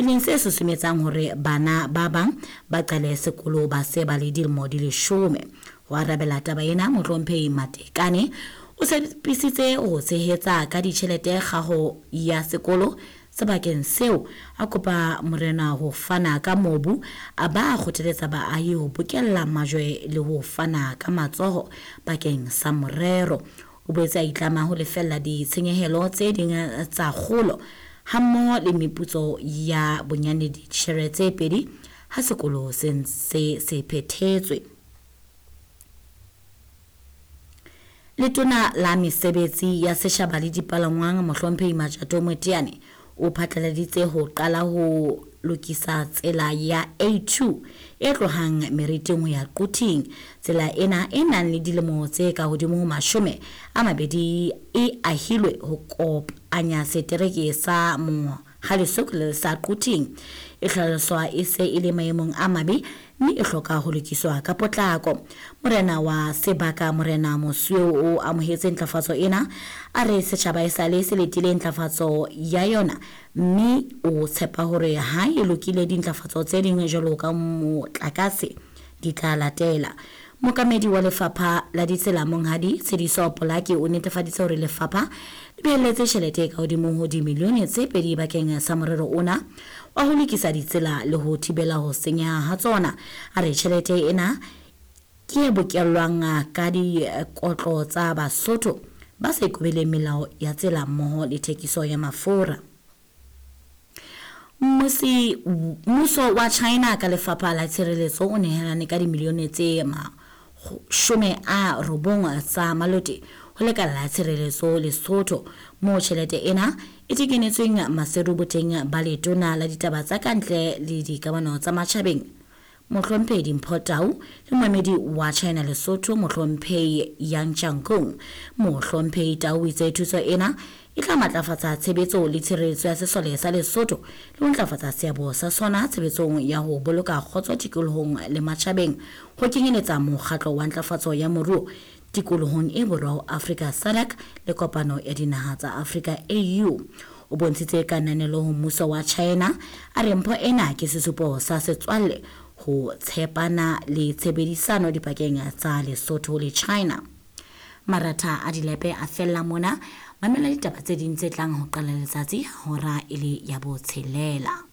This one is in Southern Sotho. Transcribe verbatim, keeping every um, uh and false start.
e leng se susumetsang hore bana ba bang ba qale sekolo ba se ba le dilemo di leshome. Ho arabela taba ena, Mohlomphehi Matekane o tshepisitse ho tshehetsa ka ditjhelete kgaho ya sekolo sebakeng seo, a kopa morena ho fana ka mobu, a ba kgothaletsa baahi ho bokella majwe le ho fana ka matsoho bakeng sa morero. O boetse a itlama ho lefella ditshenyehelo tse ding tsa kgolo hammoho le meputso ya bonyane ditjhere tse pedi ha sekolo se ntse se phethetswe. Letona la mesebetsi ya setjhaba le dipalangwang Mohlomphehi Matjato Moteane o phatlaladitse ho qala ho lokisa tsela ya A two e tlohang Meriting ho ya Quthing. Tsela ena e nang le dilemo tse ka hodimo ho mashome a mabedi e ahilwe ho kopanya setereke sa Mohale'shoek le sa Quthing. E hlaloswa e se e le maemong a mabe mme e hloka ho lokiswa ka potlako. Morena wa sebaka Morena Mosweu o amohetse ntlafatso ena, a re setjhaba esale se letile ntlafatso ya yona mme o tshepa hore ha e lokile dintlafatso tse ding jwalo ka motlakase di tla latela. Mookamedi wa lefapha la ditsela Monghadi Tshediso Polaki o netefaditse hore lefapha le behelletse tjhelete e ka hodimo ho dimilione tse pedi bakeng sa morero ona wa ho lokisa ditsela le ho thibela ho senyeha ha tsona. A re tjhelete ena ke e bokellwang ka dikotlo tsa Basotho ba sa ikobeleng melao ya tsela mmoho le thekiso ya mafura. Mmusi, mmuso wa China ka lefapha la tshireletso o nehelane ka dimilione tse mashome a robong tsa malote ho lekala la tshireletso Lesotho, moo tjhelete ena e tekenetsweng maseru boteng ba letona la ditaba tsa kantle le dikamano tsa matjhabeng Mohlomphehi Dimpho Tau le moemedi wa China Lesotho Mohlomphehi Yang Changkong. Mohlomphehi Tau o itse thuso ena e tla matlafatsa tshebetso le tshireletso ya sesole sa Lesotho le ho ntlafatsa seabo sa sona tshebetsong ya ho boloka kgotso tikolohong le matjhabeng, ho kenyeletsa mokgatlo wa ntlafatso ya moruo tikolohong e borwa ho Afrika SADC le kopano ya dinaha tsa Afrika A U. O bontshitse kananelo ho mmuso wa China, a re mpho ena ke sesupo sa setswalle ho tshepana le tshebedisano dipakeng tsa Lesotho le China. Maratha a dilepe a fella mona. Mamela ditaba tse ding tse tlang ho qala letsatsi hora e le ya botshelela.